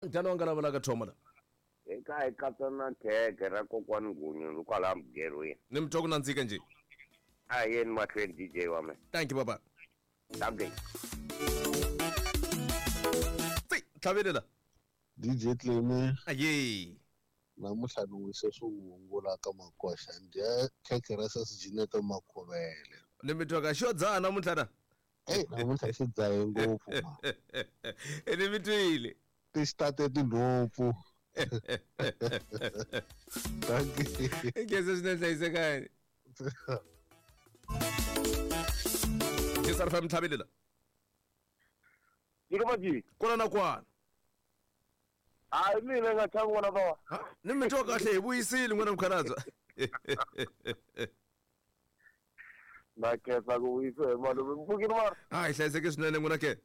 Njhani wa nga lavalaka thoma la? Eka hi katsa na khekhe ra kokwani Nghunyu kwalaha mugerhweni. Ni mi twa ku nandzika njhe? A hi yeni mahlweni DJ wa mina. Thank you baba. Dankie. Tsi, tlhavele la. DJ Cleme. Aye. Namuntlha ni wise swivungu la ka Makoxa ni dya khekhe ra sesi Jeanette Makhuvele. Ni mi twa ka xo dzaha namuntlha na? Eyi namuntlha xi dzahe ngopfu ma. Ni mi twile. Ti xi tate tinhompfu. Dankie. Nkhensa swinene hlayisekani. Jesar fam tlhavele la. Nyika maji. Kwala na kwana. Hayi mina nga tshami n'wana bava. Ni mi twa kahle hi vuyisile n'wana mukhalabye. Na khensa ku vuyisa hi malume. Mpfukile mara. Hayi hlayiseke swinene n'wina ke.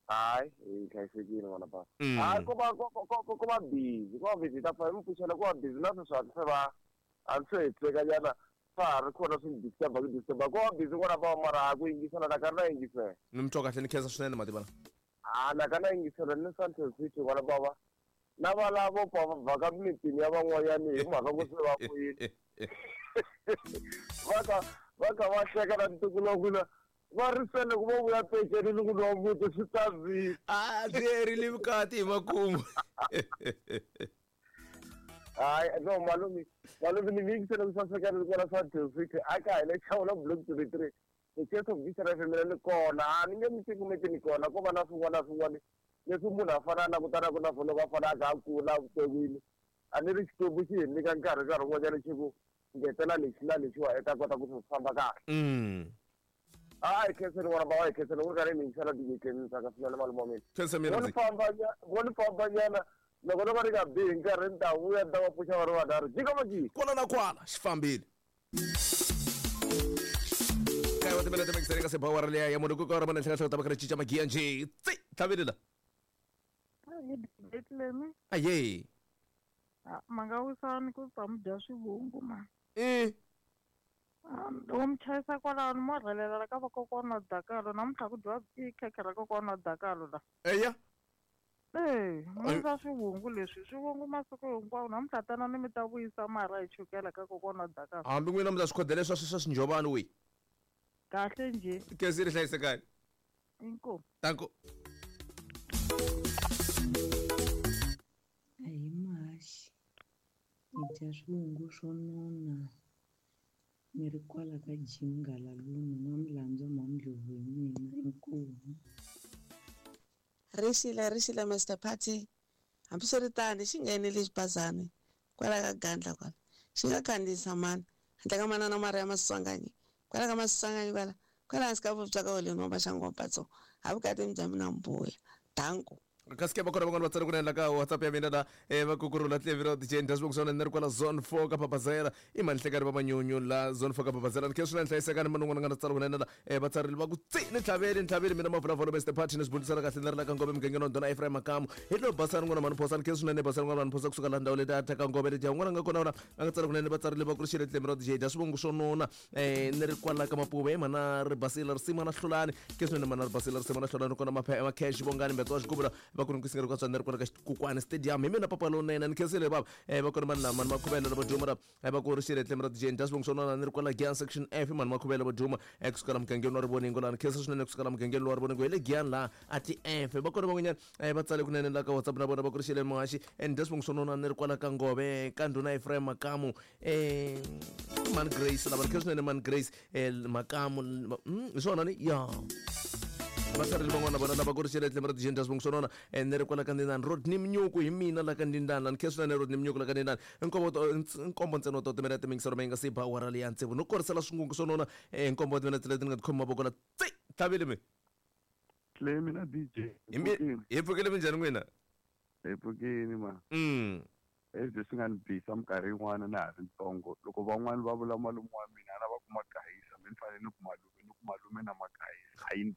Hayi hi hlayisekile n'wana bava. Hayi ko va ko ko ko va busy, ko va busy ta fa mi pfuxela ko va busy na sweswi a se va a ndzi se hetiseka nyana swa ha ri kona swi ni disturb ku disturb ko va busy n'wana bava mara ha ku yingisela na karhi na yingisela. Ni mi twa kahle ni khensa swinene mativana. Ha na ka na yingisela ni Sandton City n'wana bava na valavo pfa va vhaka mitini ya van'wanyani hi mhaka ku se va vuyile va ka va ka va hleka na ntukulu wa n'wina va ri se loko vo vuya peceni ni ku nwa muti swi ta vile a byi herile vukati hi makumu hayi no malume malume ni mi yingisele ku saseka ni kona Sandton City a ka hi le Chawula block 23 the church of Jesus FM ni kona a ni nge mi cukumeti ni kona ko va na swin'wana na swin'wana leswi munhu a fanele a langutanaka na swona loko a fanele a kha a kula evuton'wini a ni ri Xikwembu xi hi nyika nkarhi nkarhi wun'wanyana xi ku ngetela lexi na lexiwa i ta kota ku swi famba kahle a hi khenseni n'wana ba wa hi khenseni ku ri karhi mi yingisela DJ Clem ni tsaka swinene malume wa mina Khensa mina vo ni ndzi. famba vo ni famba nyana loko no va ri nga bihi nkarhi ni ta vuya ni ta va pfuxa va ri vanharhu jika majika Kwala na kwala xi fambile. Kaye wa timinete mixere ka sebawara leya ya munhu ku ka ra mona tlhela tlhela ta va kha cinca magiya njhe. Tsi tlhavile la. Hi Clemi. Aye. Ma nga wisani ku ta mi dya swivungu ma. Eh. Loko mi chayisa kwalaho ni mo rhelela ka vakokwana wa Dakalo namuntlha ku dyiwa i khekhe ra kokwana wa Dakalo la. Eya. Ee, mi swivungu leswi swivungu masiku hinkwawo namuntlha tanani mi ta vuyisa marha hi chukela ka kokwana wa Dakalo. Hambi n'wina mi ta swi khodela swa swa swinjhovani we. Kahle njhe. Kezi ri hlayisekani. Inkomu. Danko. A hi muhaxi hi dya swivungu swo nona ni ri kwala ka Jim Ngalaluni N'wamilandzu Mhamdlovu hi mina inkomu. Rixile rixile Mister Party hambiswiritano xi nghenile xibazana kwala ka gandla kwala xi nga khandziyisa mani handle ka manana Maria Maswanganyi kwala ka Maswanganyi kwala kwala hansi ka vuvabyi ka holeni wa Maxangu wa Mpatso ha vukati bya mina mbuya danko kasi ke va kona van'wana va tsale ku la ka whatsapp ya mina la va kukurula tleviro dj ndasbok swona ni ri kwala zone 4 ka papazela i mani hlekani va manyunyu la zone 4 ka papazela ni khe swinene hlayisekani mani un'wana nga na tsala kunene la va tsarile va ku tsi ni tlhaveli ni tlhaveli mina mavulavula mr party ni swi bundisela kahle ni ri la ka ngove mugangeni wa ndhuna Ephraim Makamu hi lo basani n'wana mani phosa ni khe swinene basani n'wana mani phosa kusuka la ndhawu leti a thyaka ngove letiya un'wana nga kona wona a nga tsala kunene va tsarile va ku ri xile tleviro dj dya swivongo swo nona ni ri kwala ka mapuve hi mhana ri basile risimu na hlulani ke swinene mhana ri basile risimu na hlulani kona macash vongani mbetso wa xigubula va ku ri nkusingeri ka tswana ri kwala ka xikukwani stadium hi mina papa lowunene ni khensile bava va ku ri mani mani makhuvela lavo duma ra va ku ri xile tlemi ra dj dya swivongo swo nona ni ri kwala Giyani section F mani makhuvela vo duma kusuka la mugangeni wa rivoningo laha ni khensa swinene kusuka la mugangeni wa rivoningo hi le Giyani laha a ti F va kona van'wanyana va tsale kunene la ka WhatsApp na vona va ku ri xile muhaxi and dya swivongo swo nona ni ri kwala ka ngove ka ndhuna Ephraim Makamu man Grace lava ni khe swinene man Grace Makamu hi swona ni ya va tsarile van'wana vona lava ku ri xile tlhelo ra dj ndasbong swonona ni ri kwala ka ndindani Rodney Mnyuku hi mina la ka ndindani ni khe swinene Rodney Mnyuku la ka ndindani nkombo nkombo ntsena wa timinete mingisero mi nga si ba awara leya tsevu no korisela swingungu swonona nkombo wa timinete leti ni nga tikhoma mavoko la tsi tlhavile mi Hle mina DJ. Hi pfukile minjhani n'wina Hi pfukile ma. Leswi swi nga ni bisa minkarhi yin'wana na ha ri ntsongo loko van'wani va vula malume wa mina a lava ku magayisa me ni fanele ni ku malume ni ku malume na magayisa a yi ni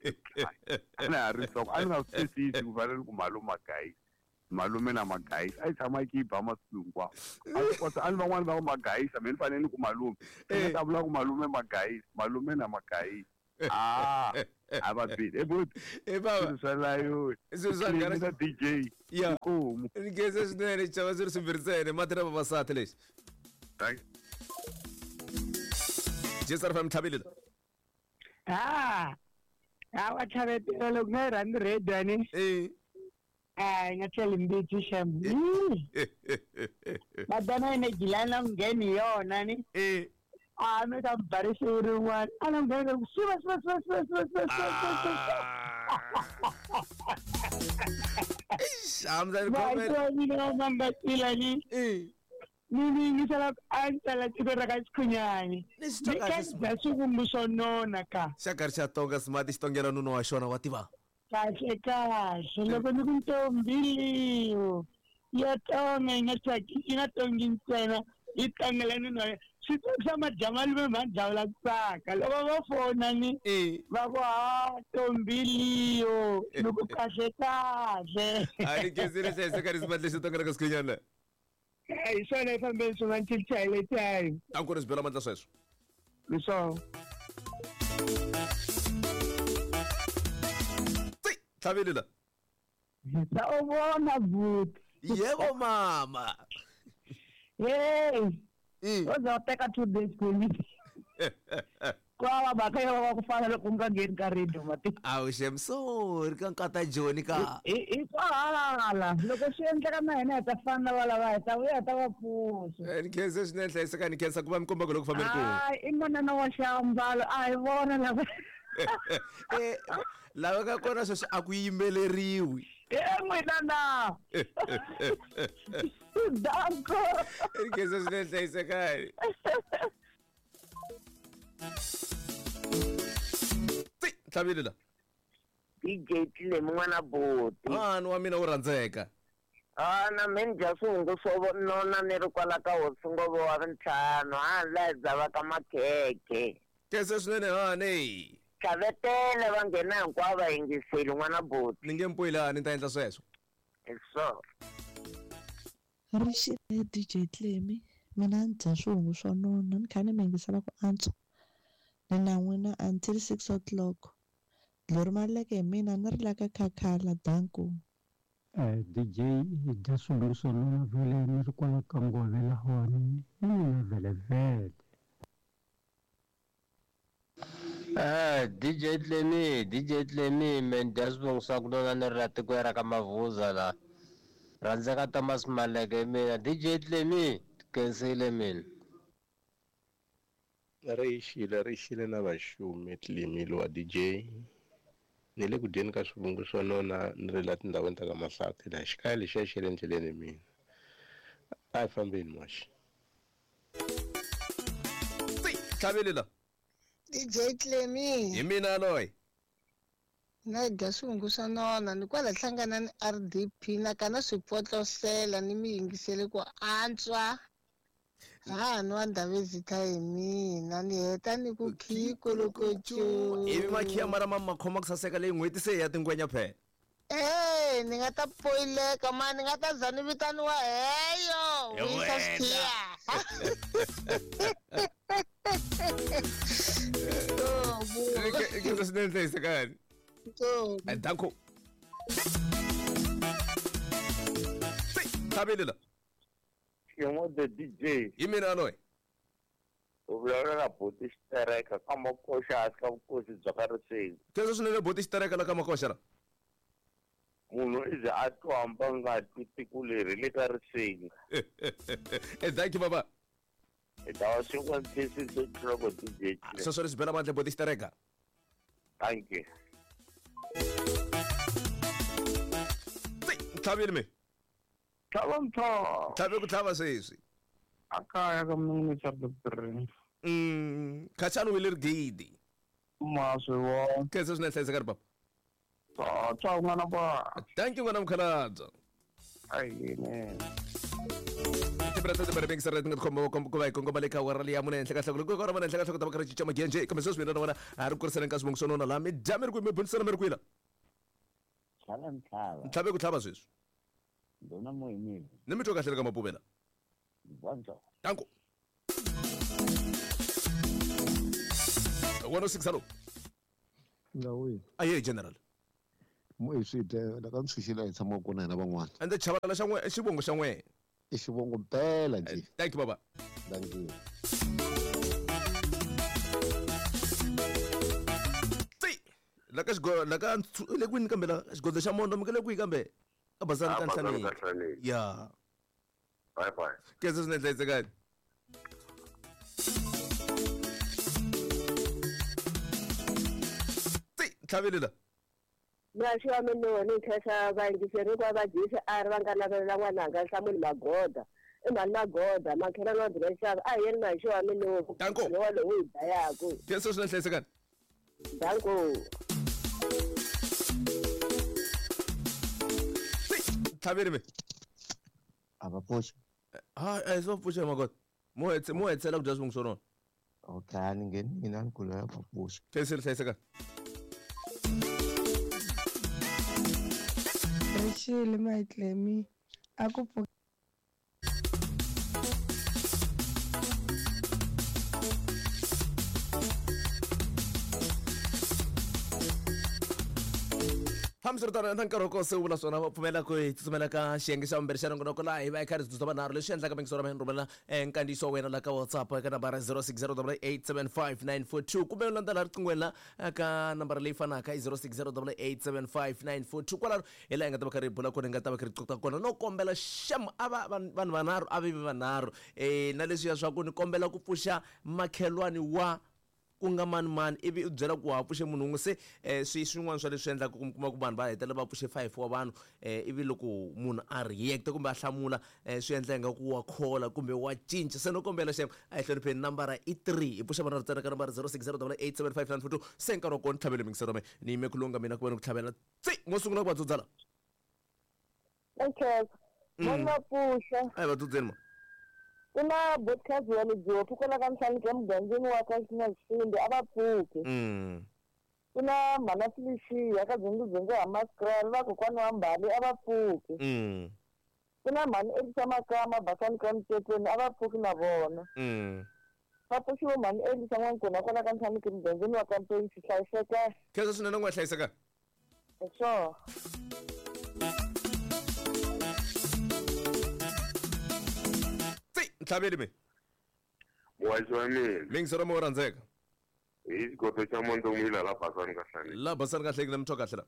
a na ha ri ntsongo a ni nga swi twisisi ku fanele ni ku malume magayisa malume na magayisa a yi tshama yi ki yi ba masiku hinkwawo a swi kota a ni van'wani va ku magayisa me ni fanele ni ku malume ni nga ta vula ku malume magayisa malume na magayisa a A va bile ebuti. E baba. Swilo swa layo. Swilo swa na DJ. Ya. Nkomu. Ni khensa swinene chava swi ri swimbirhi ntsena mati na vavasati lexi. Thank Jesar fam tlhavile. Ah. Awa tlhavetela loko nga yi rhandzi radio ni. Eh. A nga tlheli mbitsi xem. Madonna ene gilana ngheni yona ni. Eh. A mi ta barisi rin'wana. A na nghena ku siva siva siva siva siva siva siva. Eish, amza ni comment. Ba mina mamba ni. Eh. Ni yingisela a ni tsala tiko ra ka Xikhunyani. Ni swi twa kahle Ni ka dya swo nona ka. Xa karhi xa tonga smart xi tongela nuna wa xona wa tiva. Kahle kahle loko ni ku ntombi liyo ya tonga yi nga tsaki yi nga tongi ntsena yi tongela nuna wa swi tsakisa majamalume ma dlawula ku tsaka loko va fona ni va ku ha ntombi liyo ni ku kahle kahle. A ni khensile hlayiseka ni smart lexi tongela ka Xikhunyani. Hi swona yi fambeni swin'wana chile time. A ku ri swi bela mandla sweswo. Hi swona. Tlhavile la. Sawubona bhuti. Yebo mama. Hey. Uza teka 2 days kuni. Kwava mhaka yo va ku fana loko u nga ngheni ka radio mati. Awu xem sorry ka nkata Joni ka. I kwahala loko swi endleka na hina hi ta fana na valava hi ta vuya hi ta va pfuxa. Ni khensa swinene hlayiseka ni khensa ku va mi komba ku loko fambeni ku. Hayi i manana wa xiambalo a hi vona lava. Lava ka kona sweswi a ku yimbeleriwi. N'wina na. Danko. Ni khensa swinene hlayisekani. Tlhavile la. DJ Tlemi n'wana buti. Mhani wa mina wu rhandzeka. A na mina dya swihungu swo nona ni ri kwala ka hosi Ngovo wa vuntlhanu a laha hi dzavaka makhekhe. Khensa swinene hani. Tlhavetele va nghena hinkwavo va yingiseli n'wana buti. Ni nge mpwila ni ta endla sweswo. Hi swona. Ri xile DJ Tlemi mina ni dya swihungu swo nona ni kha ni mi yingisela ku antswa. Ni na n'wina until 6 o'clock. Lori maleke hi mina ni ri la ka khakhala danko. DJ hi dya swihungu swo nona vhele ni ri kwala ka Ngove lahawani ni mina vhele vhele. DJ Tlemi me dya swivongo swa ku nona ni ri la tikweni ra ka Mavuza la. Rhandzeka Thomas Maleke mina DJ Tlemi khensile mina. Ri xile na vaxumi Tlemi lowa DJ. Ni le ku dyeni ka swivungu swo nona ni ri la tindhawini ta ka Mahlathi laha xikaya lexiya xi le endleleni mina. A hi fambeni moxa. Tlhavile la. DJ Tlemi. Hi mina loyi. Na dya swihungu swo nona ni kwala hlangana ni RDP na kana swipotlosela ni mi yingisele ku antswa. Ha nwa Ndhavezitha hi mina ni heta ni ku khiko loko cu. Ivi makhiya mara ma makhoma ku saseka leyi n'hweti se ya tingwenya phela. Eh ni nga ta poyileka ma ni nga ta za ni vitaniwa heyo vuyisa swikhiya. Khensa swinene hlayisekani. Danko. Tlhavile la. Xiyimo the DJ. Hi mina loyi. U vulavula na buti xitereka ka Makoxa hansi ka vukosi bya ka Riseni. Khensa swinene buti xitereka la ka Makoxa la. Munhu i ze a twa hamba nga twi tiko leri le ka Riseni. Thank you baba. Hi ta va swin'wana loko DJ. Sweswo ri swi bela mandla buti xitereka. Thank you. Tlhavile mi. Tlhava mtho. Tlhave ku tlhava sweswi. A kaya ka munhu cha doctor. Khachani wile rigidi. Ma swi vona. Khensa swinene hlayisekani baba. Ciao n'wana ba. Thank you n'wana mukhalabye. Ayine. Tibrata tibrata bengi sarati nga khomba ku va hi kongoma le ka awara leyi ya mune henhla ka nhloko loko awara mune henhla ka nhloko ta va karhi cinca magienje kambe sweswi mina na wena a ri kuriseleni ka swivongo swo nona laha mi dya mi ri kwihi mi bunisana mi ri kwihi la. Tlhava ntlhava. Tlhave ku tlhava sweswi. Ndona moyimile. Ni mi twa kahle ka Mapuvela. Bonzo. Danko. 106 hello. Ndhawu Aye general. Mo hi swi dya la ka ntshunxile hi tshama kona hina van'wana. Ende chavalala xa n'we xivongo xa n'we. I xivongo mpela nje. Thank you baba. Thank you. La ka xigo la ka le kwini kambe la xigodlo xa mondo mi le kwihi kambe? Ka Bazani ka Nhlaneni. Ya. Bye bye. Khensa swinene hlayisekani. Tlhaveli la. Muraxi wa mina ni khensa vayingiseri hinkwavo va GCR va nga navelela n'wananga Nhlamulo Magoda. I mhani Magoda, makhelwani wa Dzivexava, a hi yeni Mhaxi wa mina Danko. lowa lowu hi dayaku. Khensa swinene hlayisekani. Danko. Tlhaveli me. A va pfuxi. Ha, a hi swo pfuxa Magoda. Mo hetse mo hetsela ku dya swivongo swa rona. Okay, a ni ngheni mina ni kula va pfuxa. Khensile hlayisekani. Rixile Mayitlemi a ku pfuka Hambiswiritano na nkarhi wa kona se wu vula swona va pfumela ku hi tsutsumela ka xiyenge xa vumbirhi xa nongonoko laha hi va hi kha ri dzudza vanharhu leswi endlaka mingiso ra mina rhumela nkandziyiso wa wena la ka WhatsApp eka nambara 0608875942 kumbe u landzela riqinghweni la ka nambara leyi fanaka i 0608875942 kwalano hi laha hi nga ta va kha ri bula kona hi nga ta va kha ri qoqa kona no kombela xem a va vanhu vanharhu a vi vanharhu na leswiya swa ku ni kombela ku pfuxa makhelwani wa ku nga mani mani ivi u byela ku wa ha pfuxe munhu wun'we se swi swin'wana swa leswi endlaka ku mi kuma ku vanhu va hetelela va pfuxe 5 wa vanhu ivi loko munhu a react kumbe a hlamula swi endla ingaku wa khola kumbe wa cinca se no kombela xem a hi hlonipheni nambara i 3 hi pfuxa vanhu ntsena ka nambara 0608875942 se nkarhi wa kona ni tlhavele mingisero me ni yime ku lunga mina ku va ni ku tlhavela tsi mo sungula ku va dzudzala Okay. Mo va pfuxa. A hi va dzudzeni ma. Ku na podcast ya le Jopi kwala ka Nhlamulo emugangeni wa ka Xinasindi a va pfuki. Ku na mhana Felicia ka Dzongodzongo ha Maskrala va kokwana wa Mbali a va pfuki. Ku na mhani Elisa Makama Basani ka Mtetweni a va pfuki na vona. Va pfuxiwe mhani Elisa N'wankona kwala ka Nhlamulo emugangeni wa ka Mpensi hlayiseka. Khensa swinene n'wa hlayiseka. Sure. Ntlhaveli me. Muhaxi wa mina. Mingisero mo rhandzeka. Hi xigodo xa Mondomila la Basani ka Hlaneki. La Basani ka Hlaneki na mutwa kahle la.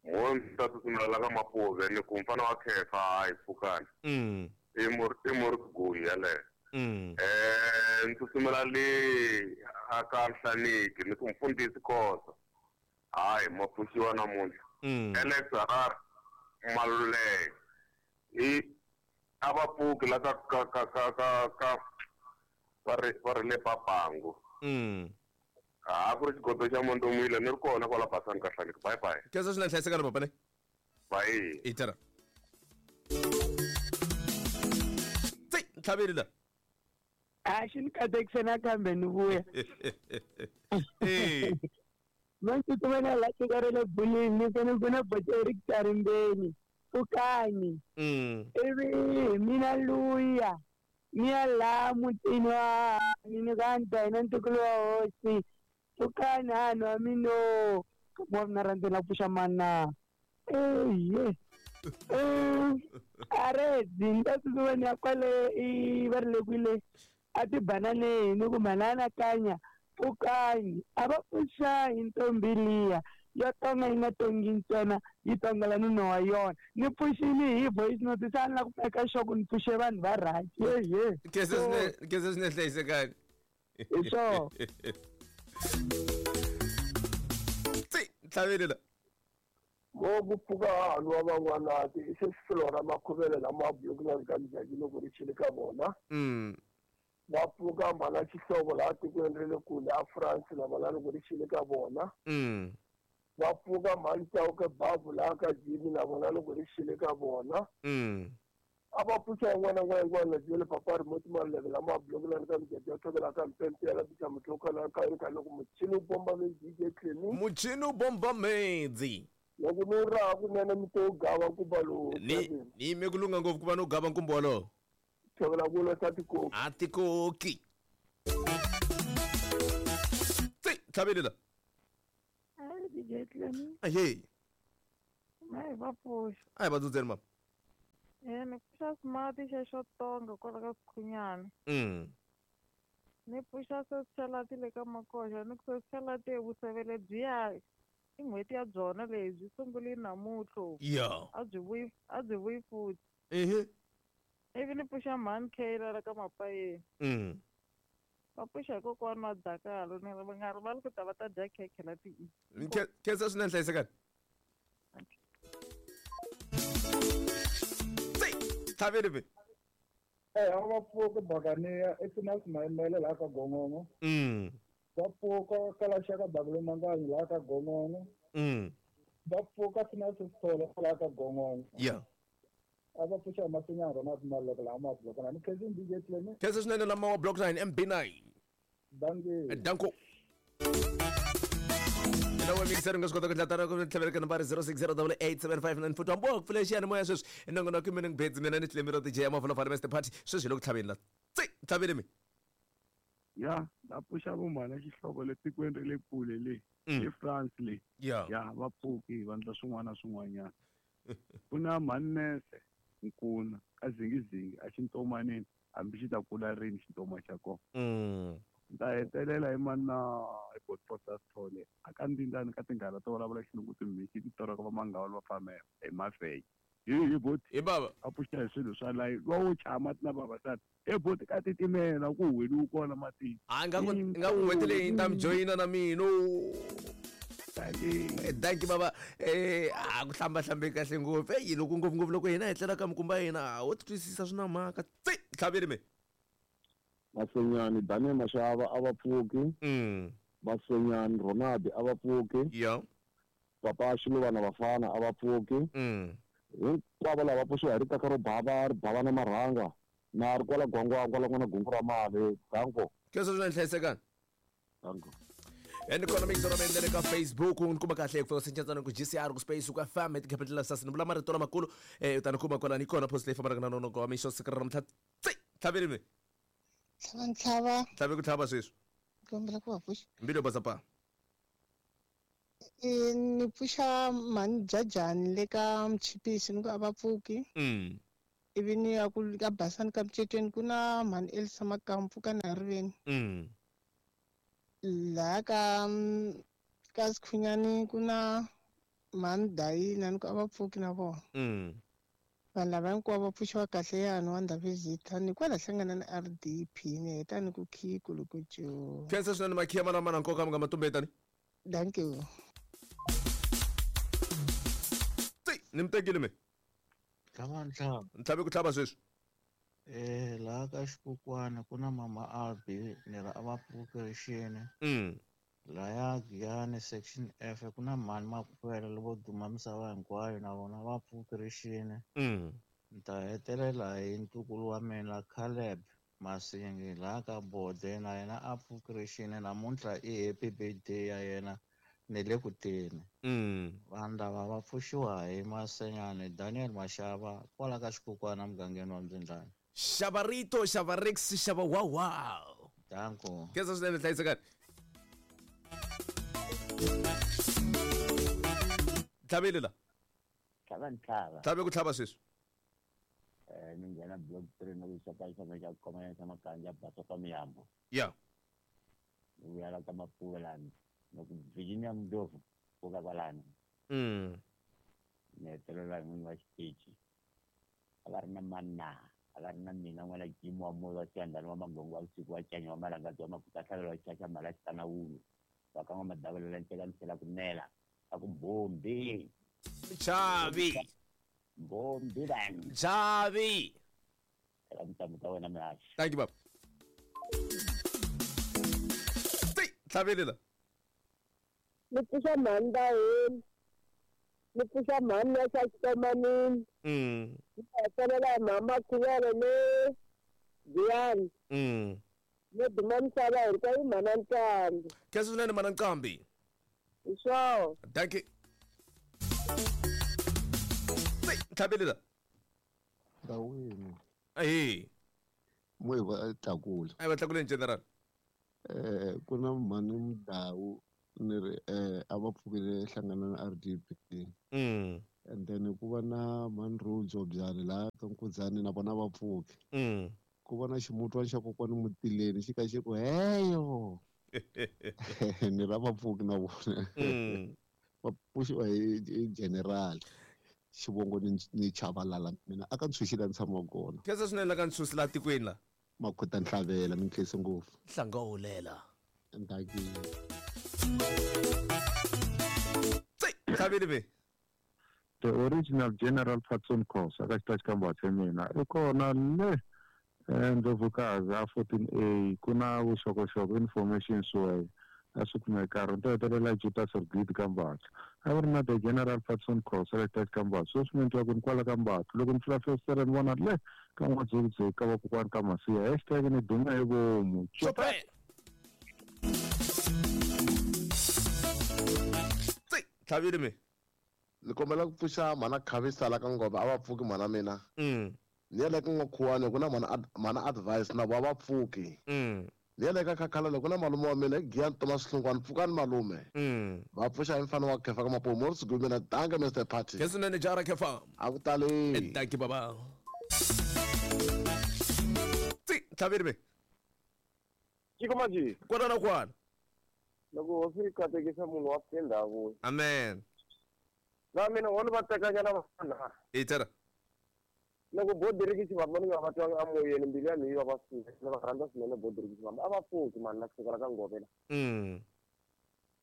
Mo ndzi ta tsutsumela la ka Mapuve ni ku mfana wa Khefa hayi pfukani. I muri Guyi yaleyo. Ndzi tsutsumela le a ka Hlaneki ni ku mfundhisi Khosa. Hayi ma pfuxiwa namuntlha. Alex Harare Maluleke. I a va pfuki la ka ka ka ka ka ka va ri le Papangu. A ku ri xigodo xa Mondomile ni ri kona kwala Basani ka Hlaneki. Bye bye. Khensa swinene hlayisekani papa ne. Bye. Itara. Tsi ntlhaveli la. A xi ni katekise nakambe ni vuya. Mantshutsumela la tiko ra le bulini ni fane ku na bote Eric Tarimbeni. Pfukani. Ivi hi mina luya ni ya laha mutini wa ni ka ni hina ntukulu wa hosi pfukani hanhu wa mino wa mina rhandzela pfuxa mana ehe arezi ni ta tsutsuma ni ya kwale i va ri le kwile a tibananeni ni ku mhana anakanya pfukani a va pfuxa hi ntombi liya ya tonga yi nga tongi ntsena yi tongela nuna wa yona ni pfuxile hi voice note se a ni la ku meka sure ku ni pfuxe vanhu va right yehe Khensa swinene hlayisekani. Hi swona. Tsi ntlhaveli la. Mo ku pfuka hahani wa van'wanati i se Flora Makhuvele lama bulukilani ka Mjaki loko ri xile ka vona. Va pfuka mhana Xihlovo laha tikweni ra le kule a France na vona loko ri xile ka vona. Va pfuka mhani Chauke Babu laha ka Jimmy na vona loko ri xile ka vona. A va pfuxa yin'wana na yin'wana na Jele Papa Remote Maluleke lama bulukilani ka Mjaki ya tlhokela ka Mpempe la Bicha Mutloka la ka ka loko muchini wu bomba medzi DJ Clemi. Muchini wu bomba medzi. Loko ni raha kunene mi to gava nkumba lowu. Ni yime ku lunga ngopfu ku va no gava nkumba wolowo. Tshovela ku losa tikoki. A tikoki. Tsi ntlhaveli la. DJ Clemi. Ahee. Mai va pfuxa. A hi va dzudzeni mama. Ni pfuxa smart xexo tonga kwala ka Sikhunyana. Ni pfuxa sesichalati le ka Makoxa ni ku sesichalati evusevele byiya i n'hweti ya byona leyi byi sungule namuntlha. Yeah. A byi vuyi futhi. Ehe. Ivi ni pfuxa mhani Kayla la ka Mapayeni. Va pfuxa hi kokwana wa Dakalo ni ri va nga rivali ku ta va ta dya khekhe la ti. Khensa swinene hlayisekani. Tlhaveli be. A va pfuka Bakaniya i Finance Mayimele laha ka Gongongo. Va pfuka Kalaxaka Dakulomanganyi laha ka Gongongo. Va pfuka Finance Sithole laha ka Gongongo. Yeah. A va pfuxa Masinyana Ronald Maloko laha ma block 9. Ni khensa DJ Clemi. Khensa swinene lama wa block 9 MB9. Dankie. Danko. Nawe mixer nga swi kota ku dlatara ku tlhaveleka nambara 06088759 futhi hambi wa ku pfula xiyanimoya sweswi i nongonoko i morning beds mina ni Clemi ro DJ ya Mavula Mr Party sweswi hi le ku tlhaveni la tsi tlhaveni mi ya va pfuxa vumhana xihlovo le tikweni ra le kule le le France le ya va pfuki va endla swin'wana na swin'wanyana ku na mhanese nkuna ka zingizingi a xintomanini hambi xi ta kula rini xintoma xa kona ta hetelela hi mana hi Godfrey Sithole a ka ndindani ka tinghala to vulavula xilungu timhisi ti toraka va mangawula va famba hi mafenya hi boti hi baba a pfuxa hi swilo swa layi va wo chaya mati na vavasati he boti ka titimela ku huweliwi kona matini a nga ku n'hweti leyi ni ta mi joyina na mina Danki baba a ku hlambahlambi kahle ngopfu eyi loko ngopfungopfu loko hina hi tlela ka mikumba ya hina wo twisisa swi na mhaka tsi tlhaveli me Masenyani Daniel Mashava a va pfuki. Masenyani Ronald a va pfuki. Yeah. Papa Xiluvana Vafana a va pfuki. Hinkwavo lava pfuxiwa hi ritaka ro bava ri bava na marhanga na ri kwala gwangwa la n'wana gungu ra mali. Danko. Khensa swinene hlayisekani. Danko. And kona mixer ra mina ka Facebook ni kuma kahle ku fika ku GCR ku space ku FM at capital sas ni vula marito lamakulu u ta ni kuma kwalani kona post leyi fambaka na nonoko wa mixo siku ra namuntlha tsi tlhaveli mi Ntlhava. Tlhave ku tlhava sweswi. Kombela ku va pfuxa. Mbilu yo basa pa. Ni pfuxa mhani Jajani le ka Mchipisi ni ku a va pfuki. Ivi ni ya ku ka Basani ka Mcetweni ku na mhani Elsa Makampu ka Nariveni. Laha ka Sikhunyani ku na mhani Dayina ni ku a va pfuki na vona. Vanhu lava hinkwavo va pfuxiwa kahle yani wa Ndhavezitha ni kwala hlangana na RDP ni heta ni ku khiku loko jo. Khensa swinene makhiya mana mana nkoka mi nga matumbetani. Thank you. Tsi ni mi tekile me. Tlhava ntlhava. Ntlhave ku tlhava sweswi. Laha ka Xikukwana ku na mama Albi ni ra a va pfuki rixini. Laya Giyani section F ku na mhani Makhwela lovo duma misava hinkwayo na vona va pfuki rixini. Ni ta hetelela hi ntukulu wa mina Caleb Masingi laha ka Bode na yena a pfuki rixini namuntlha i happy birthday ya yena ni le ku teni. Vanhu lava va pfuxiwa hi Masenyani Daniel Mashava kwala ka Xikukwana mugangeni wa Mdzindlani. Xava rito, xava Rex, xava wawa. Danko. Khensa swinene hlayisekani. Tlhaveli la. Tlhava ntlhava. Tlhave ku tlhava sweswi. Ni nghena block 3 na ku xaka xaka xa khoma xa makanja basa ka miyambo. Yeah. Ni vuya la ka Mapfuvelani na ku Virginia Mdlovu ku ka kwalano. Ni hetelela hi n'winyi wa xitichi. A va ri na manna, a va ri na mina n'wana Jim wa moya wa Xiyandhani wa Magongo wa vusiku wa Canya wa Malangadzi wa Makuta Tlhavela wa Chacha Mhala Xitana Wulu. Va ka n'wa-Madavula nceka ni tlhela ku nela a ku bombi. Chavi. Bombi vanhu. Chavi. Eka tintambu ta wena mihaxi. Thank you baba. Tsi tlhaveli la. Ni pfuxa mhani Daheni. Ni pfuxa mhani ya xa Xitomanini. Ni hetelela hi mhama Khuvele le Giyani. No duma misava hinkwayo mhana Nqambi. Khensa swinene mhana Nqambi. Hi swona. Thank you. Tlhaveli la. Ndawini. Ahee. Mo hi va tlakula. A hi va tlakuleni general. Ku na mhani Mdawu Ni ri a va pfukile hlangana na RDP. And then ku va na Manrojo byani laha ka Nkudzani na vona va pfuki. Ku va na ximutwana xa kokwani Mutileni xi ka xi ku heyo. Ni ra va pfuki na vona. Va pfuxiwa hi general. Xivongo ni chavalala mina aka ntshunxile ni tshama kona. Khensa swinene la ka ntshunxi la tikweni la. Makhuta Ntlhavela mi nkhense ngopfu. Hlangahulela. Ndaki. Ntlhaveli be. The original General Patson Khosa ka xitachi ka Mbatha mina i kona le Ndlovukazi a 14A ku na vuxokoxoko information sway a swi kumeka ri to hetelela Juta Sergit ka Mbatha a ri na the General Patson Khosa ka xitachi ka Mbatha sweswi mi twa ku ni kwala ka Mbatha loko ni pfula festere ni vona le ka n'wadzekudzeki ka vakokwani ka Masiya hashtag ni dume hi vomu. Chopin. Tlhavile me. Ni kombela ku pfuxa mhana Khavisa la ka Ngoma a va pfuki mhana mina. Ni ya le ka N'wakhuwani ku na mhana advice na vo a va pfuki. Ni ya le ka Khakhalele ku na malume wa mina Giyani Thomas Hlungwani pfukani malume. Va pfuxa hi mfana wa Khefa ka Mapumu Morris Gumina danke Mr Party. Khensa swinene jara Khefa. A ku tali. Danke baba. Tlhavile me. Tiko maji. Kwana na kwana. Loko hosi yi katekisa munhu wa fika ndhawu. Amen. Na mina wona va tekanyana vanhu. Itera. Loko bodiriki xivamba ni nga va twanga amoyeni mbilu ya mina yi va swinene va rhandza swinene bodiriki xivamba a va pfuki mani na kusuka la ka Ngovela.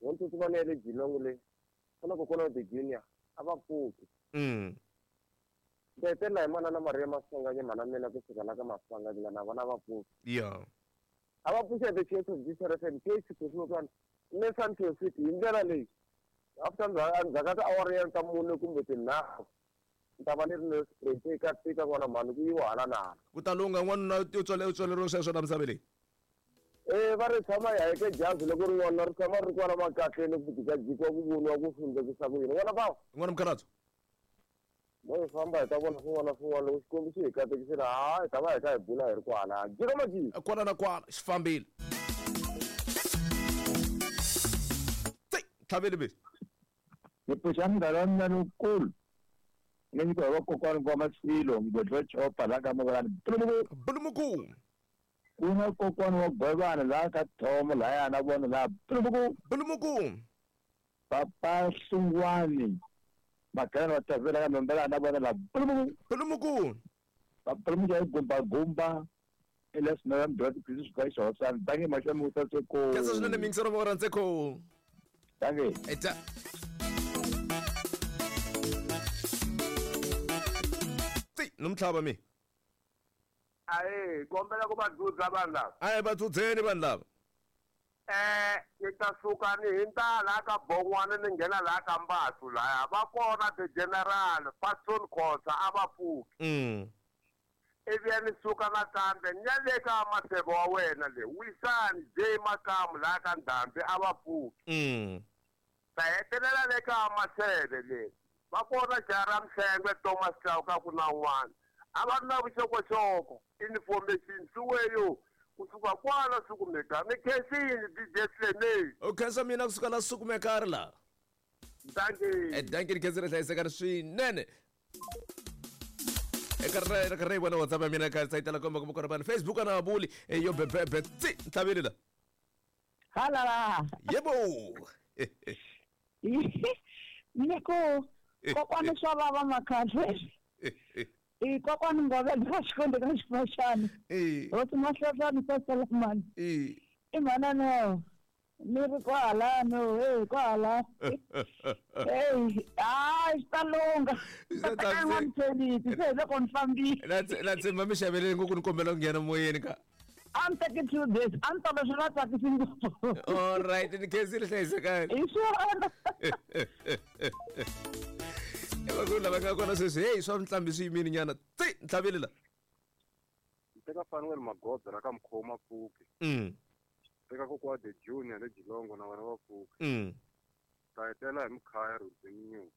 Wona tsutsuma ni ya le Geelong le ku na kokwana the junior a va pfuki. Ndzi hetelela hi manana Maria Maswanganyi mhana mina kusuka la ka Maswanganyi na vona va pfuki. Yeah. A va pfuxa the Church of Jesus FM Church Kusuka le Santo City hi ndlela leyi. After ndzhaku ka tiawara ya ta mune kumbe tinharhu ni ta va ni ri ni straight eka tika n'wana mhani ku yiwa hala na hala. Ku ta lungha n'wanuna u tswaleriwe sweswo la misaveni leyi. Va ri tshama hi hayeke jazi loko ri n'wana ri tshama ri kwala makatleni ku jikajikiwa ku voniwa ku hlundzekisa ku yini n'wana bawo. N'wana mukhalabye. Mo hi famba hi ta vona swin'wana na swin'wana loko Xikwembu xi hi katekisile ha hi ta va hi kha hi bula hi ri kwala. Jika majika. Kwala na kwala xi fambile. Tlhaveli be. Ni pfuxa munghana wa mina lowukulu ni nyikiwa hi vakokwana va Masilo mugodi wa chopa laha ka Mavalani Bulumuku. Ku na kokwana wa Gwevana laha ka Thomo lahaya na vona laha Bulumuku. Bulumuku. Papa Hlungwani Makhana wa Tavela ka Nombela na vona laha Bulumuku. Bulumuku. Papa Bulumuku ya gumba gumba Elias Noya Mdwati Christus Christ wa San Bangi Mashami Utaseko. Kesa swinene mingisero va rhandzeko. Danke. Eta. Nomhlaba mi. Ayi, kombela ku va dzudza vanhu lava. Ayi va dzudzeni vanhu lava. Ni ta suka ni hundza laha ka Bongwana ni nghena laha ka Mbathu laya va kona the General Patson Khosa a va pfuki. Ivi ya ni suka nakambe ni ya le ka Maseko wa wena le Wisani J Makamu laha ka Ndhambi a va pfuki. Ta hetelela le ka Maseve le va kona Jara Mhlengwe Thomas Chauka ku na un'wana a va ri na vuxokoxoko information swiweyo kusuka kwala sukumeka ni khensini DJ Cleme. U khensa mina kusuka la sukumeka ri la. Dankie. Dankie ni khensile hlayisekani swinene. Eka ri vona WhatsApp ya mina ka sayitela komba kumbe kona Facebook na vuli yo bebebe tsi ntlhaveli la. Halala. Yebo. Niko kokwana swa vava makhandle. I kokwana Ngovela ka Xikwembu ka Xifaxana. Hosi Mahlahlani sa Solomon. I mhana no. Ni ri kwala no, hey kwala. Hey, swi ta lungha. N'wamthelisi se hi loko ni fambile. Na tshemba mi xaveleni ngopfu ni kombela ku nghena moyeni ka. A ni teki 2 days, a ni tava swi nga tsakisi ngopfu. All right, ni khensile hlayisekani. Hi swona. Vakulu lava nga kona sweswi heyi swa mihlambi swi yimile nyana tsi ntlhaveli la. Teka Fanuel Magoza ra ka Mkhoma pfuki. Teka kokwa the Junior le Geelong na vona va pfuki. Ta hetelela hi Mkhaya Rudzi Nyuku.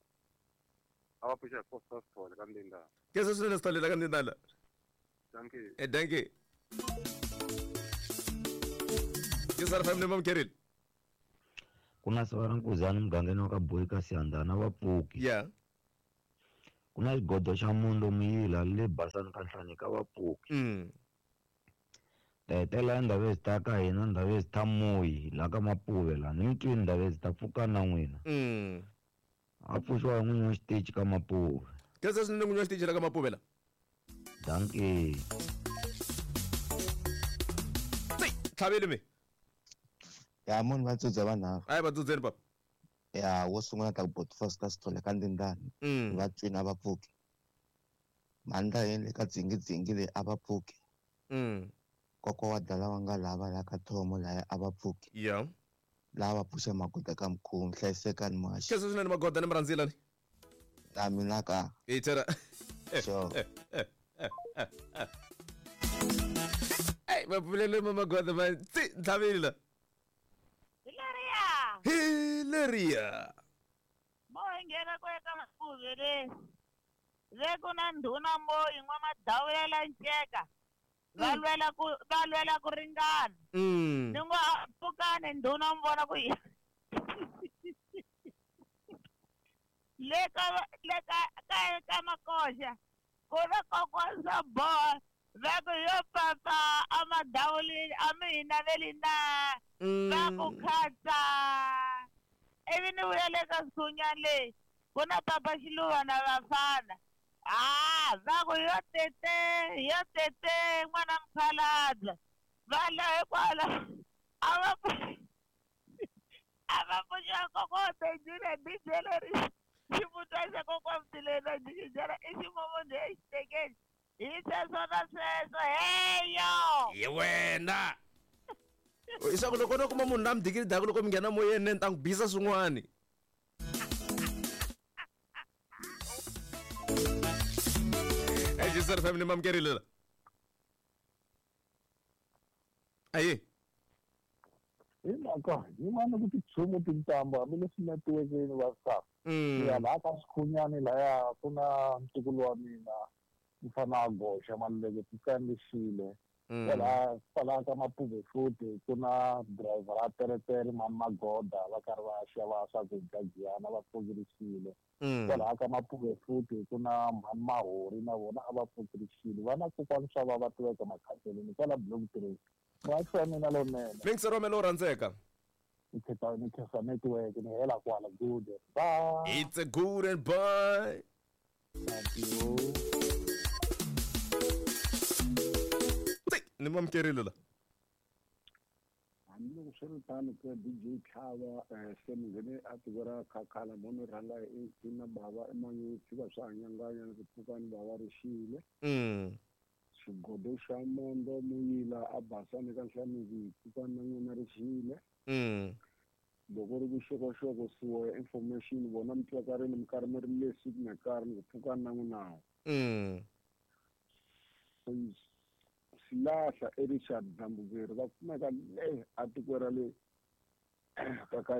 A va pfuxa hi Foster Sithole ka Ndindana. Khensa swinene Sithole la ka Ndindana. Dankie. Dankie. Khensa family mamkerile. Ku na siva ra Nkuzani mugangeni wa ka Boyi ka Siyandhana va pfuki. Yeah. Ku na xigodo xa Mondo Muyila le Basani ka Nhlanika va pfuki. Tetela Ndabezitha ka hina Ndabezitha Moyi la ka Mapuve la ni mi twini Ndabezitha pfuka na n'wina. A pfuxiwa hi n'winyi wa xitichi ka Mapuve. Khensa swinene n'winyi wa xitichi la ka Mapuve la. Dankie. Tlhaveli mi. Ya munhu va tsudza vanharhu. A yi va tsudzeni papa. Ya wo sungula ta ku bot first Sithole ka Ndindani. Va twini a va pfuki. Mandla yini ka dzingidzingi leyi a va pfuki. Kokwa wa dala wa nga lava la ka thomo laya a va pfuki. Yeah. Lava pfuxa magoda ka mkhumu hlayisekani muhaxi. Khensa swinene magoda ni mrhandzila ni. Na mina ka. Hi tshera. Sure. Ey, va pfulele ma magoda ma tsi ntlhaveli la. Hilaria. Hilaria. Mo hi nghena ku eka Mapuve le. Le ku na ndhuna Moyi n'wamadawulela nceka. Va lwela ku ringana. Ni ngo a pfukani ndhuna mi vona ku yi. Le ka Makoxa ku na kokwana swa boha va ku yo papa a madawulini a mi hi naveli na va ku khatsa. Ivi ni vuya le ka Sunya le ku na papa Xiluva na vafana. Ah, va ku yo tete n'wana mukhalabye. Va la hikwala a va pfuxa kokwa Benjile DJ leri xivutwa xa kokwa Mtilena jikijela i ximomondo exitekeni. Hi sweswo na sweswo heyo. Hi wena. Leswaku loko no kuma munhu la mi dikidaka loko mi nghena moyeni ni ta n'wi bisa swin'wani. Jisar family mamkerile la. Ayi. Hi mhaka yin'wana ku tichumu tintambu hambileswi netiwekeni va sa. Ya laha ka Swikhunyani laya ku na ntukulu wa mina mfana a goxa maluleke pfukanixile. Kwalaha ka Mapuve futhi ku na driver a teretere mani Magoda va karhi va xava swakudya Giyana va pfukerisile. Kwalaha ka Mapuve futhi ku na mhani Mahori na vona a va pfukerisile. Va na kokwana swa va tiveka makhaseleni kwala block 3. Muhaxi wa mina lonene. Minx Romelo u rhandzeka. Ni khensa network ni hela kwala good bye. It's a good and bye. Thank you. Ni mamkerile la. Hambiloko swi ri tano ka DJ Tlhava se mi nghene a tiko ra Khakhala mo ni rhanga hi na bava emanyutsi va swa hanyanganya ni ku pfukani bava ri xile. Xigodo xa Mondo Muyila a Basani ka Nhlaniki pfukani na n'wina ri xile. Loko ri vuxokoxoko siwo information vona mi twakarini mi karhi mi ri le siku na karhi ni ku pfukani na n'wina. Silahla Richard Dzambukeri va kumeka le a tiko ra le ka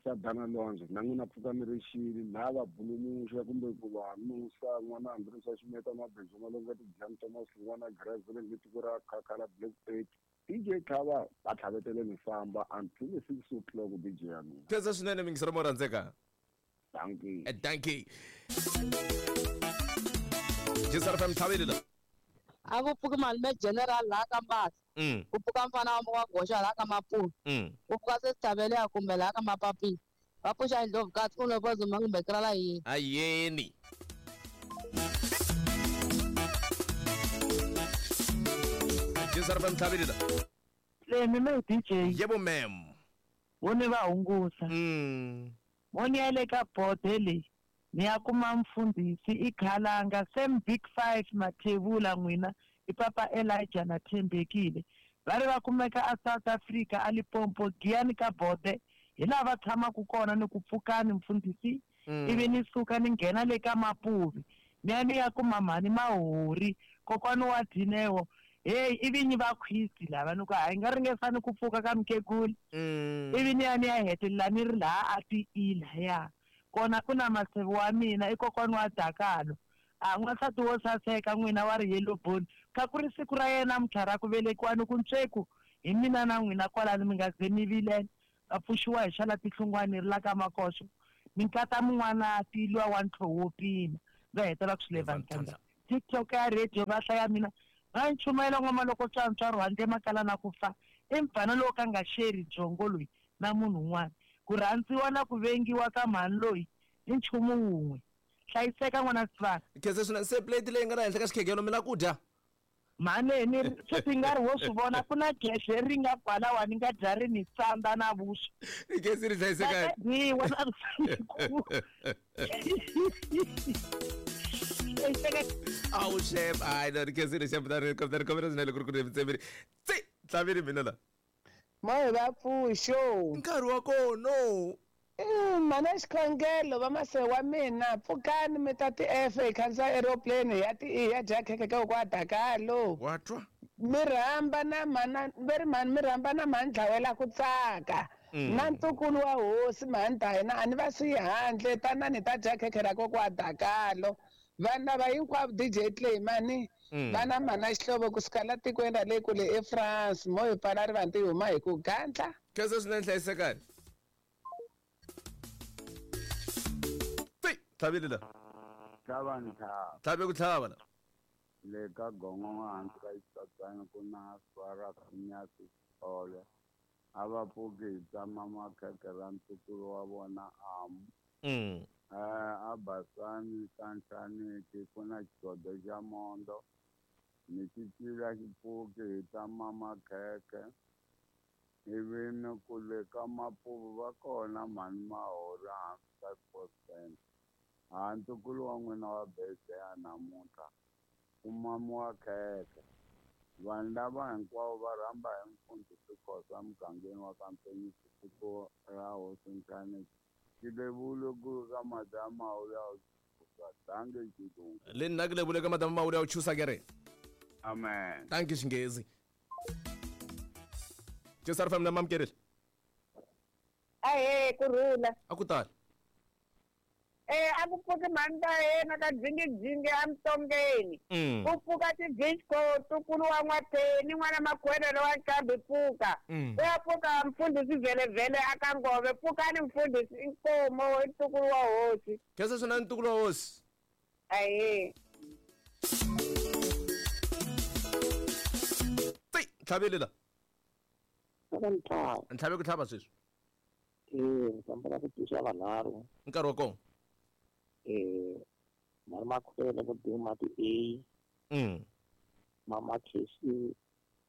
Sadana Lwandle na n'wina pfuka mi ri xile laha va bulumuxa kumbe ku va nusa n'wana Andresa Ximeta Mabindzu Malonga Tidyani Thomas n'wana Grazile le tiko ra Khakhala Black 8 DJ Tlhava va tlhavetele mi famba until 6 o'clock DJ ya mina. Khensa swinene mingisero mo rhandzeka. Dankie. Dankie. Jisar FM tlhaveli la. A ku pfuki malume general laha ka Mbasa. Ku pfuka mfana wa goxa laha ka Mapuve. Ku pfuka se Thabele kumbe laha ka Mapapila. Va pfuxa Indlovukazi ku no zuma kumbe krala yini. Ayeni. Jisar FM tlhaveli la. Le mina DJ. Yebo ma'am. Wo ni va hungusa. Wo ni ya le ka bode leyi. Ni ya kuma mfundhisi i Khalanga same big 5 Mathebula n'wina i papa Elijah na Thembekile va ri va kumeka a South Africa a Limpopo Giyani ka bode hi laha va tshamaka kona ni ku pfukani mfundhisi ivi ni suka ni nghena le ka Mapuve ni ya ni ya kuma mhani Mahori kokwana wa Dineo hey ivi ni va khwisi lava ni ku hayi nga ringesani ku pfuka ka mukhegula ivi ni ya ni ya hetelela ni ri laha a ti lahaya kona ku na masevi wa mina i kokwana wa Dakalo a n'wansati wo saseka n'wina wa ri yellow bone kha ku ri siku ra yena namuntlha ra ku velekiwa ni ku ntsweku hi mina na n'wina kwalano mi nga ze mi vilela Va pfuxiwa hi xala tihlungwani ri la ka makoxo. Minkata mun'wana tilwa wa ntlho wo pima. Va hetela ku swi leva. TikTok ya radio va hlaya mina. Va nchumayela ngoma loko tswantswa rwandle makala na ku fa. I mfana lowu ka nga xeri byongo loyi na munhu un'wana. Ku rhandziwa na ku vengiwa ka mhani loyi i nchumu wun'we. Hlayiseka n'wana Sivana. Khensa swinene se plate leyi nga la henhla ka xikhegelo mi la ku dya. Mhani ni sweswi nga ri wo swi vona ku na gede ri nga kwalawa ni nga dya ri ni tsandza na vuswa. I khensi ri hlayiseka. Dyiwa na vusiku. Awu chef, hayi no ri khensile chef na ri kombela kombela swinene ku ri ku ri tsemeri. Tsi, tlhavini mina la. Moya va pfuxo. Nkarhi wa kona. Mana xikhongelo va mase wa mina pfukani mi ta ti F hi khandziya aeroplane ya ti E ya dya khekhe ka kwa Dakalo. Wa twa? Mi rhamba na mana ve ri mhani mi rhamba na mhani dlawela ku tsaka. Na ntukulu wa hosi mhani ta hina a ni va siyi handle tanani ta dya khekhe ra kokwa Dakalo. Vana va hinkwavo DJ Clay mani vana mana xihlovo kusuka la tikweni ra le kule eFrance mo hi pfala rivanti hi huma hi ku gandla. Khensa swinene hlayisekani. Tlhavile la. Tlhava ni tlhava. Tlhave ku tlhava la. Le ka gongongo hansi ka xitsatsana ku na swara nyasi ole. A va pfuki hi tsama makhekhe ra ntukulu wa vona amu. A basani ka nhlaniki ku na xigodo xa mondo. Ni xicila xi pfuki hi tsama makhekhe. Ivi ni ku le ka mapuvu va kona mhani mahori hansi ka sports center. Ha ntukulu wa n'wina wa birthday ya namuntlha ku mamiwa khekhe. Vanhu lava hinkwavo va rhamba hi mfundhisi Khosa mugangeni wa ka Mpenyisi tiko ra hosi Nhlaneki. Xilevule ku ka madama ya chusa dange xilungu. Le nna ke lebule ka madama ya chusa ke re. Amen. Thank you Xinghezi. Jesar fam na mamkerile. Ahe kurhula. A ku tali. A ku pfuki mhani ta yena ka dzingidzingi emutongeni. Ku pfuka tidisco ntukulu wa n'watheni n'wana makhwelelo wa nqambi pfuka. Ku ya pfuka mfundhisi vhelevhele aka ngove pfukani mfundhisi inkomo i ntukulu wa hosi. Khensa swinene ntukulu wa hosi. Ahe. Tsi, tlhavile la. Ntlhave ku tlhava sweswi. Ni ku tisa vanharhu. Nkarhi wa kona. Mhani makhwele vo duma ti A. Mama Casey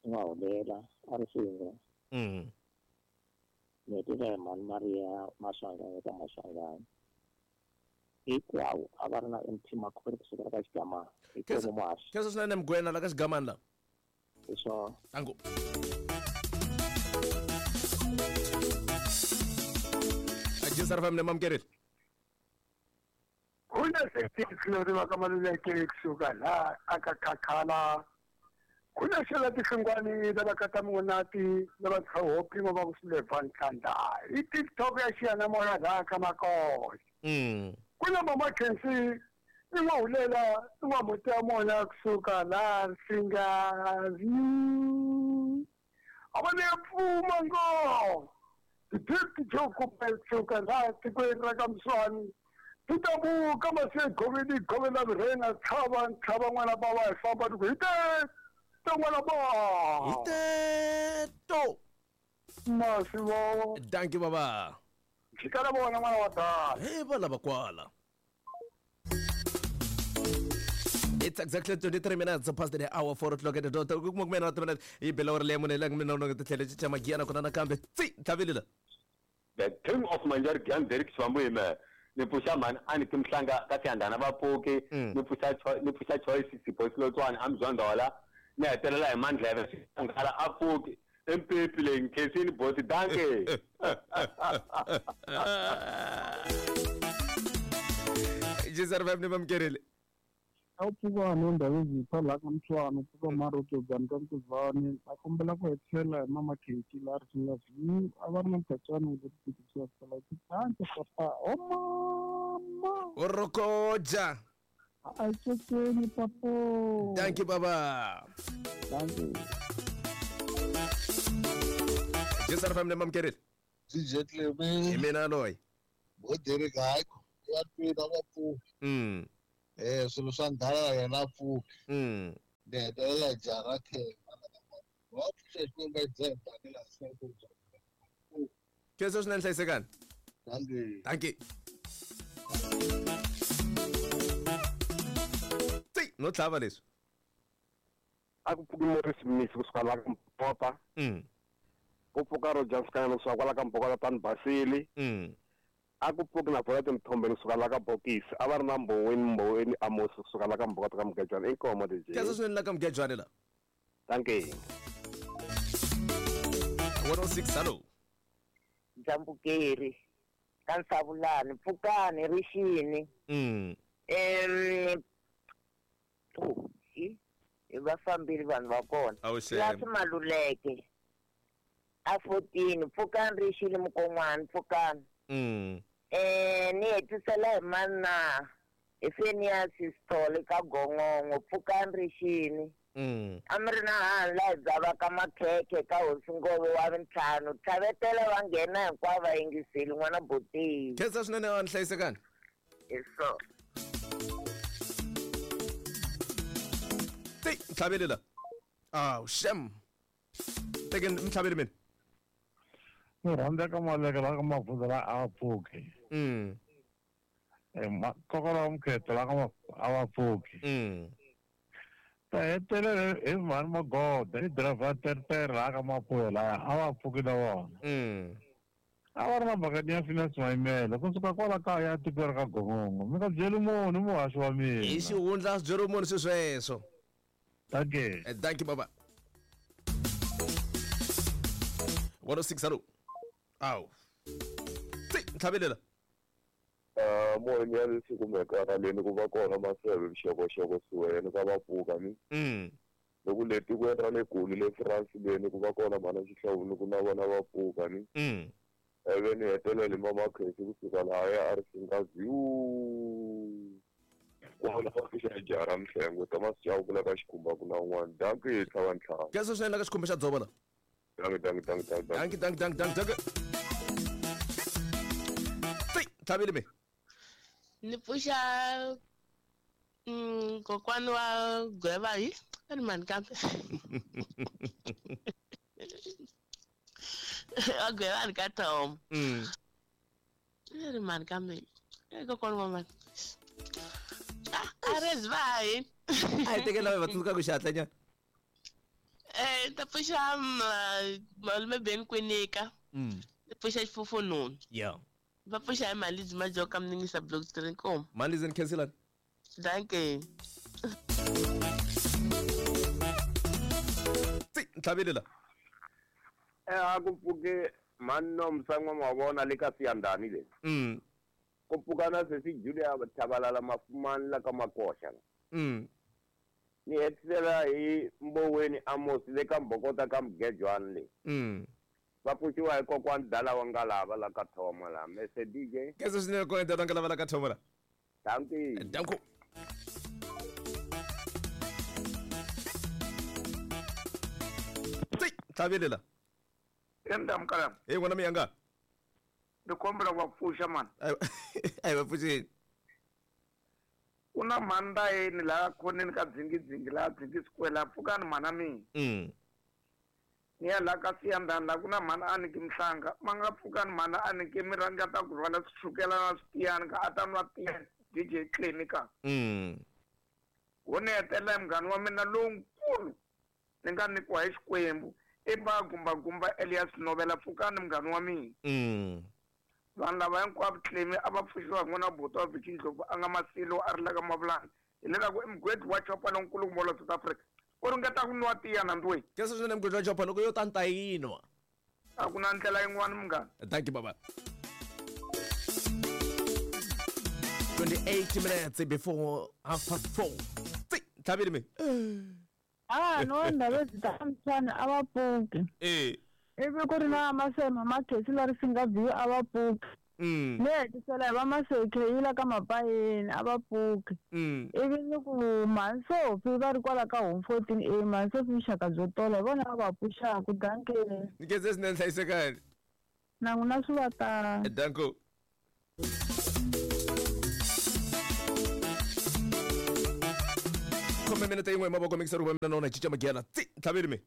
n'wahulela a ri single. Ni hetela hi mhani Maria Maswanganyi ka Maswanganyi. Hinkwavo a va ri na MT Makhwele kusukela ka xigamana. Hinkwavo muhaxi. Khensa swinene mugwena la ka xigamana la. Hi swona. Tango. Ajisar fam ne mamkerile. Kuna sextilori va ka maluleke kusuka la aka khakhala. Kuna xela tihlungwani lava kata munati lava tshopi va ku sileva ntlanda. I TikTok ya xiyanimoya la ka makosi. Kuna mama Khensi i n'wahulela i n'wamuti ya mona kusuka la Singazi. A va ne pfuma ngo. Ti joko kusuka la tikweni ra ka Mswani. Titabuka mase goveni govena rena tlhava tlhava n'wana baba hi famba ku hi te n'wana ba. Hi te to. Masivo. Thank you baba. Xikala vona n'wana wa dala. He va lava kwala. It's exactly 23 minutes past the hour 4 o'clock at the dot. Ku kuma kumena timina yi bela uri lemon la mina no tlhele chicha magiyana kona nakambe. Tsi, tlhavile la. The king of Manjar Gyan Derek Swambu yime. Ni pfuxa mhani a ni timhlanga ka Siyandhana va pfuki. Ni pfuxa Choice Sipho Silotswana a Mzondhola. Ni hetelela hi Mandleve Xinghala a pfuki. Empepi leyi nkhensini bosi danke. Jisar fam ne mamkerile. A wu pfuka ni ndhawu zipha la ka Mswani pfuka Maroto bani ka Mkuzani a kombela ku hetisela hi mama Kheki la ri singa view a va ri na mkhatswana wo tikisiwa sala thank papa o mama Orokoja a tseteni papo. Thank you baba. Thank you. Jisar fam ne mamkerile. DJ Clemy. Hi mina loyi. Bo Derek hayi ya twina va pfuki. Swilo swa ndhala yena pfuki. Ni hetelela jara khe. Va pfuxa Xikwembu dzemba ni la seko. Khensa swinene hlayisekani. Dankie. Dankie. Tsi, no tlhava leswi. A ku pfuki Morris Mnisi kusuka la ka Mpota. Ku pfuka Roger Msikana kusuka kwala ka Mbokota tani Basili. A ku pfuki na Volet Mthombeni kusuka la ka Bokisi. A va ri na Mboweni Amos kusuka la ka Mbokota ka Mugejwana. Inkomo DJ. Khensa swinene la ka Mugejwana la. Dankie. 106 hello. Dzambukeri ka Nsavulani pfukani rixini. Hi va fambile vanhu va kona. Lasi Maluleke a 14 pfukani rixini mukon'wana pfukani. Ni hetisela hi mana hi Phineas Sithole ka Gongongo pfukani rixini. A mi ri na hanhu laha hi dzavaka makhekhe ka hosi Ngove wa vintlhanu tlhavetela va nghena hinkwavo va yingiseli n'wana Boteyi. Khensa swinene wa hlayisekani. Hi swona. Ti ntlhaveli la. Aw shem. Teke ntlhaveli mina. Ni rhandza ka Maleke la ka Mavuza la a pfuki. Kokwana wa Mkhetho la ka a va pfuki. Ta hetelela hi mhani Magoda i driver tertere laha ka Mapuya laya a va pfuki na vona. A va ri na mhaka ya Phineas Mayimele kusuka kwala kaya tikweni ra ka Gongongo. Mi nga byeli munhu muhaxi wa mina. Hi xihundla swi byeriwi munhu swi sweswo. Dankie. Dankie baba. 106 hello. Aw. Tsi, ntlhavelela. Moyeni ya leswi kumekaka leni ku va kona maseve vuxokoxoko siwene ka va pfuka ni. Loko le tikweni ra le Goli le France leni ku va kona mhana Xihlovo ni ku na vona va pfuka ni. Ivi ni hetelela hi mama Khesi kusuka lahaya a ri Singaziu. Kwala va pfuxa jara Mhlengo Thomas Chauke ku la ka Xikhumba ku na un'wana. Dankie tlhava ntlhanu. Khensa swinene la ka Xikhumba xa Dzovo la. Dankie dankie dankie dankie. Dankie dankie dankie dankie dankie. Tsi, tlhaveli me. Ni pfuxa kokwana wa Gweva hi a ni mani kambe. Wa Gweva ni ka Tom. A ri mani kambe. Kokwana wa mani. A ri va hi. A hi tekela va tsundzuka ku xihatla nyana. Ta pfuxa malume Ben Kwinika. Ni pfuxa Xifufununu. Yeah. Va pfuxa hi Malizi Majoka Mningisa Block 3 Nkomo. Malizi ni khenselani. Dankie. Tsi, ntlhaveli la. A ku pfuke mani Msan'wa Mavona le ka Siyandhani le. Ku pfuka na sesi Julia Thabalala Mafumani la ka Makoxa. Ni hetisela hi Mboweni Amos le ka Mbokota ka Mugejwana le. Va pfuxiwa hi kokwana Dala wa Ngalava la ka Thoma la. Mese DJ. Khensa swinene kokwana Dala wa Ngalava la ka Thoma la. Dankie. Danko. Tsi, tlhaveli la. Emdamkala. Hey n'wana miyanga. Ni kombela ku va pfuxa mani. A hi va pfuxeni. Ku na mhani yeni laha khoneni ka dzingidzingi laha Dzingi Square laha pfukani mhana mina. Ni ya laha ka Siyandhani laha ku na mhani Aniki Mhlanga ma nga pfukani mhani Aniki mi ringeta ku rhwala swichukela na switiyani ka a ta nwa tiya DJ Clemy ka. Wo ni hetelela hi munghana wa mina lonkulu ni nga nyikiwa hi Xikwembu i ba Gumbagumba Elias Novela pfukani munghana wa mina. Vanhu lava hinkwavo Clemy a va pfuxiwa hi n'wana buti wa Vicky Ndlovu a nga Masilo a ri la ka Mavulana hileswaku i mugwedi wa chopa lonkulukumba wa South Africa u ringeta ku nwa tiya nandzuweni. Khensa swinene mugwedi wa chopa loko yo ta ni ta yinwa. A ku na ndlela yin'wana munghana. Thank you baba. 28 minutes before 4:30. Tsi, ntlhaveli me. No ndhawu ta mtshana a va pfuki. Ivi ku ri na masema Makhesi la ri Singaziu a va pfuki. Ni hetisela hi va Masekheyila ka Mapayeni a va pfuki. Ivi ni ku mhani Sophie va ri kwala ka home 14A mhani Sophie vuxaka byo tola hi vona va va pfuxaka. Dankie. Ni khensa swinene hlayisekani. Na n'wina swi va tano. Danko. Khome minete yin'we hi mavoko mikiseri ku va mina na wona hi cinca magiyana tsi ntlhaveli mi.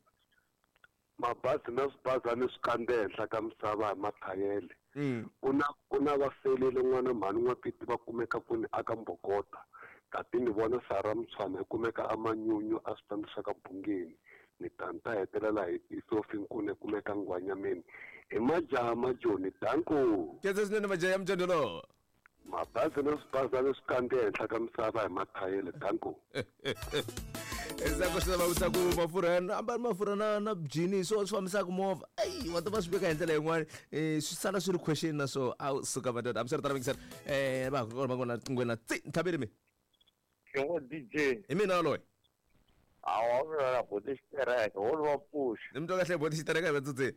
Mabazi na swibazana swi kandze henhla ka misava hi mathayele. Ku na ku na vafelele n'wana mhani n'wapiti va kumeka kwini aka Mbokota. Tati ni vona Sara Mutshwana yi kumeka aManyunyu a switandi swa ka Bungeni. Ni ta ni ta hetelela hi Sophie Nkuna yi kumeka Nghwanyameni. Hi majaha majoni danko. Khensa swinene majaha ya mjondolo. Mabazi na swibazana swi kandze henhla ka misava hi mathayele danko. Endzhaku swi lava vutisa ku mafurha ya ambali mafurha na na jini hi swona swi fambisaka movha eyi wa ta va swi veka hi ndlela yin'wani um swi sala swi ri question na swo a wu suka madoda hambiswiritano mingisela um va ha kona va kona nqinghweni tsi ntlhaveli mi Xin'we DJ. Hi mina yaloye. Hawa mina na boti xitereka wo va pfuxa. Ni mi twa kahle boti xitereka hi vatsotsi.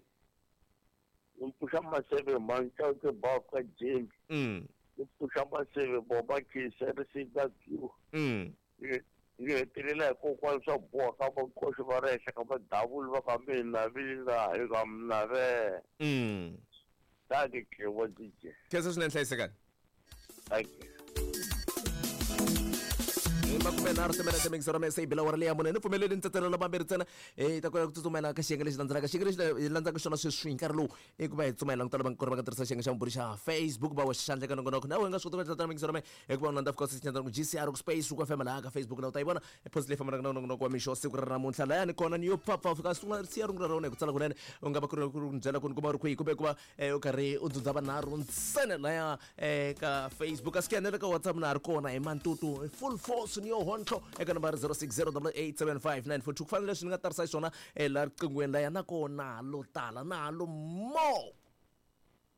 Ni pfuxa maseve manchauke ba ka James. Ni pfuxa maseve boba kisa ri sika Q. Ni hetelela hi kokwana swa boha ka vakoxi va ri henhla ka madavuli va ka mina vila hi ka mina ve. Thank you, DJ. Khensa swinene hlayisekani. Thank you. Makumenharhu timinete mixero me se yi bila wara leya mune ni pfumeleli ni tsetselela mambirhi ntsena hi ta kota ku tsutsumela ka xiyenge lexi landzelaka. Xiyenge lexi hi landzaka xona sweswi hi nkarhi lowu i ku va hi tsutsuma hi languta lava ku ri va nga tirhisa xiyenge xa vumbirhi xa Facebook va wexa xandla eka nongonoko. Na wena nga swi kota ku endla tano mixero me hi ku va u landza of course xinyandzana ku GCR ku space ku FM laha ka Facebook la u ta yi vona post leyi fambelaka na nongonoko wa mixo siku ra namuntlha. Laya ni kona ni yo pfapfa u fika sungula siya rungula ra wena hi ku tsala kunene u nga va ku ri ku byela ku ni kuma u ri kwihi kumbe ku va u karhi u dzundza vanharhu ntsena laya eka Facebook. A swi na le ka WhatsApp na ha ri kona hi mantutu full force ni yo hontlo eka nambara 0608875942 ku fana na leswi ni nga tarisa xiswona laha riqinghweni laya na kona lo tala na lo mo.